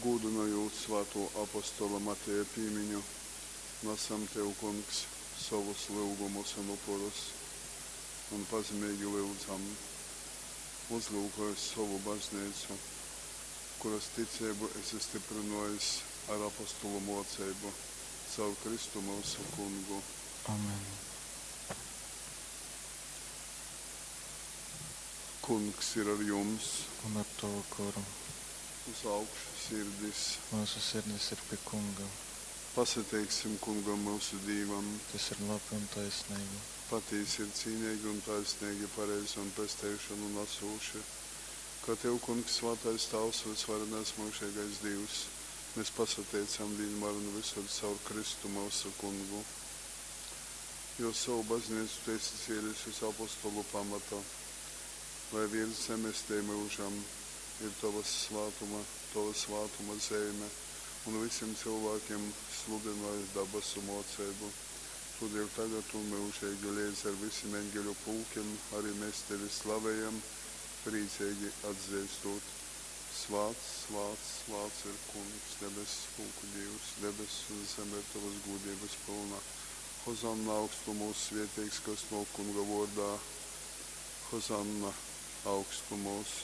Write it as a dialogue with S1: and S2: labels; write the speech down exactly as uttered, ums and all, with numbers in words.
S1: Gūdynojūt svātō apostola Mateja pīmiņu, nasam tev, Kungs, sovus lyugumus un upurus un pazemeigi lyudzam, uzlyukoj sovu bazneicu, kuras ticeibu esi styprynōjis ar apostolu mōceibu. Caur Kristu myusu Kungu.
S2: Amen.
S1: Kungs ir ar jums.
S2: Un ar tovu goru.
S1: Uz augšu sirdis.
S2: Myusu sirdis ir pi Kunga.
S1: Pasateiksim Kungam, myusu Dīvam.
S2: Tys ir labi un taisneigi.
S1: Patīsi ir cīneigi un taisneigi, pareizi un pesteišonu nasūši, ka tev, Kungs, svātais Tāvs, vysvarenais myužeigais Dīvs, mes pasateicam vīnmār un vysur caur Kristu myusu Kungu. Jo sovu bazneicu tu esi cēlis uz apostolu pamata, lai viers zemes tei myužam ir tovas svātuma, tova svātuma zeime un vysim cylvākim sludynoj dabasu mōceibu. Tōdēļ tagad un myužeigi leidz ar vysim eņgeļu pulkim ari mes tevi slavejam, prīceigi atzeistot: Svāts, svāts, svāts ir Kungs, debess pulku Dīvs, debess un zeme ir tovas gūdeibas pylna. Hozanna augstumūs, svēteigs, kas nōk Kunga vōrdā. Hozanna augstumūs.